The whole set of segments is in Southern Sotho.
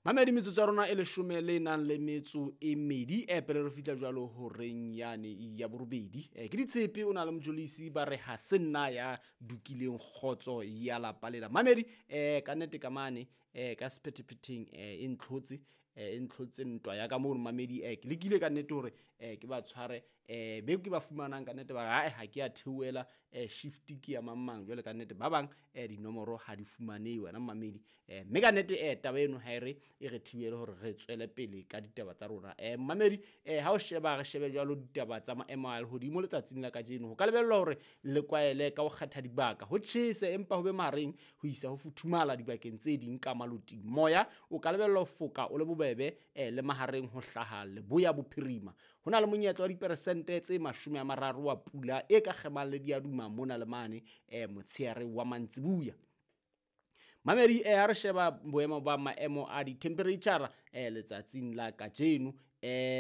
Mamedi metsotso ya rona e leshome le nang le metso e mmedi e pele re fihla jwalo horeng yane ya borobedi. Ke ditshepe o na le Mjolisi ba re ha se nna ya dukileng kgotso ya lapa lela. Mamedi ka nnete ka mane ka sephethephetheng e ntlhotse e ntlhotse ntwa ya ka mono mamedi ke lekile ka nnete hore ke ba tshware be ke ba fumanang ka nnete ba re ae ha ke a theohela shift ke ya mang mang jwale ka nnete ba bang dinomoro ha di fumanehe wena mamedi mme ka nnete taba eno ha e re e re thibele hore re tswele pele ka ditaba tsa rona. Mamedi ha o sheba re shebe jwalo ditaba tsa maemo a lehodimo letsatsing la kajeno ho ka lebellwa hore le kwaele ka ho kgetha dibaka ho tjhese empa ho be mahareng ho isa ho futhumala dibakeng tse ding ka maloting. Moya o ka lebellwa ho foka o le bobebe le mahareng ho hlaha leboya bophirima. Ho na le monyetla wa diperesente tse 30 wa pula e ka kgemang le diaduma mona le mane motsheare wa mantsibuya. Mamedi ha re sheba boemo ba maemo a di-temperature letsatsing la kajeno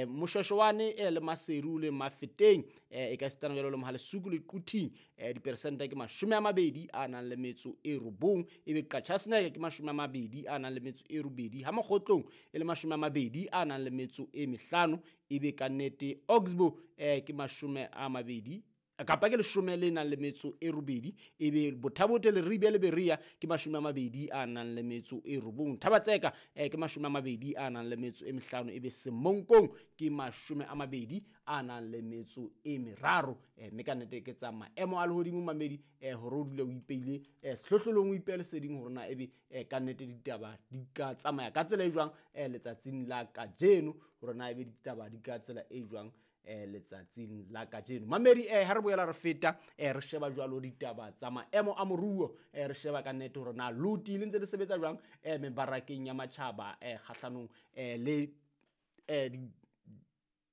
Moshweshwane le Maseru le Mafeteng e ka sitana jwalo le Mohalesuku le Quthing diperesente ke 29 ebe Qachaseneke ke 28 ha Mokgotlong e le 25 ebe ka nnete Oxbow ke 20 kapa ke 18 ebe Bothabote le Ribe le Berea ke 29 Thabatseka ke 25 ebe Semonkong ke 23 mme ka nnete ke tsa maemo a lehodimo mamedi hore o dule o ipeile sehlohlolong o ipeile leseding hore na ebe ka nnete ditaba di ka tsamaya ka tsela e jwang letsatsing la kajeno hore na ebe ditaba di ka tsela e jwang letsatsing la kajeno. Mamedi ha re boela re feta re sheba jwalo ditaba tsa maemo a moruo re sheba ka nnete hore na loti le ntse le sebetsa jwang mebarakeng ya matjhaba kgahlanong le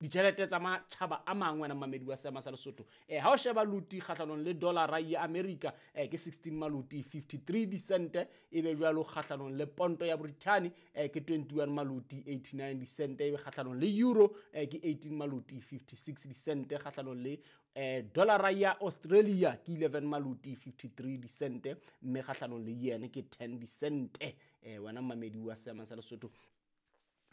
ditjhelete tsa matjhaba a mangwe wena mamedi wa seama sa Lesotho. Ha o sheba loti kgahlanong le dollara ya America ke 16 maloti 53 disente ebe jwalo kgahlanong le ponto ya Britain ke 21 maloti 89 disente ebe kgahlanong le euro ke 18 maloti 56 disente kgahlanong le dollara ya Australia ke 11 maloti 53 disente mme kgahlanong le yen ke 10 disente wena mamedi wa seama sa Lesotho.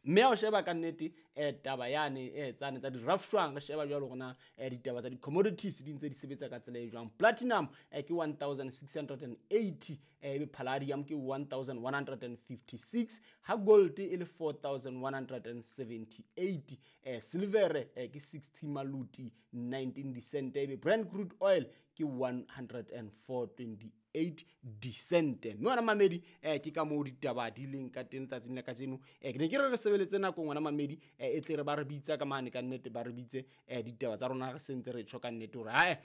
Mme ha o sheba ka nnete taba yane tsane tsa di-rafshwang re sheba jwalo hore na ditaba tsa di-commodities di ntse di sebetsa ka tsela e jwang. Platinum ke 1680 ebe palladium ke 1156 ha gold e le 4178 silver ke 60 maloti 19 disente ebe Brent crude oil ke 104.28 disente. Mme wena mamedi ke ka moo ditaba di leng ka teng tsatsing la kajeno. Ke ne ke re re sebeletse nako ngwana mamedi e tle re ba re bitsa ka mane ka nnete ba re bitse ditaba tsa rona re sentse re tjho ka nnete hore hae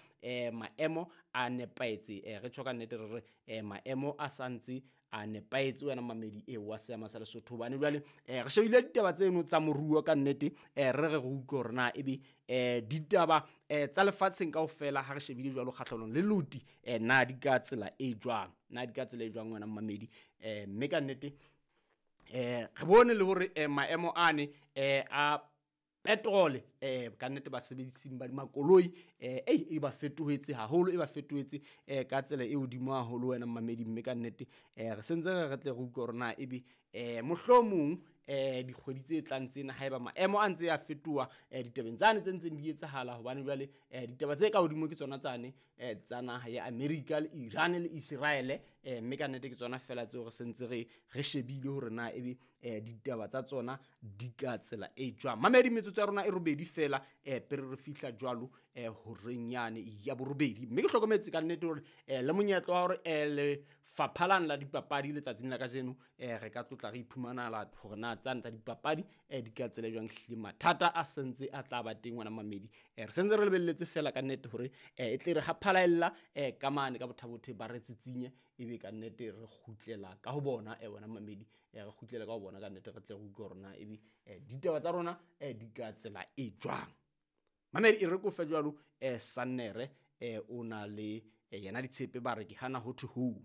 maemo a nepahetse re tjho ka nnete re re maemo a santse a nepahetse wena mamedi e wa seama sa Lesotho. Hobane jwale re shebile ditaba tseno tsa moruo ka nnete re re utlwe hore na ebe ditaba tsa lefatsheng kaofela ha re shebile jwalo kgahlanong le loti na di ka tsela e jwang, na di ka tsela e jwang wena mamedi mme ka nnete re bone le hore maemo ane a petrol ka nnete basebedising ba makoloi e ba fetohetse haholo e ba fetohetse ka tsela e hodimo haholo wena mamedi mme ka nnete re sentse re tle re utlwe hore na ebe mohlomong dikgwedi tse tlang tsena haeba maemo a ntse a fetoha ditabeng tsane tse ntseng di etsahala hobane jwale ditaba tse ka hodimo ke tsona tsane tsa naha ya America le Iran le Israel mme ka nnete ke tsona fela tseo re sentse re shebile hore na ebe ditaba tsa tsona di ka tsela e jwang. Mamedi metsotso ya rona e robedi fela pele re fihla jwalo horeng yane ya borobedi mme ke hlokometse ka nnete hore le monyetla wa hore lefapha lane la dipapadi letsatsing la kajeno re ka tlotla re iphumanala hore na tsane tsa dipapadi di ka tsela jwang hlile mathata a sentse a tla ba teng wena mamedi re sentse re lebelletse fela ka nnete hore e tle re ha phalaella ka mane ka bothabothe ba re tsitsinye ebe ka nnete re kgutlela ka ho bona wena mamedi re kgutlela ka ho bona ka nnete re tle re utlwe hore na ebe ditaba tsa rona di ka tsela e jwang. Mamedi e re ko fe jwalo Sannere o na le yena ditshepe ba re ke hana ho thwe ho.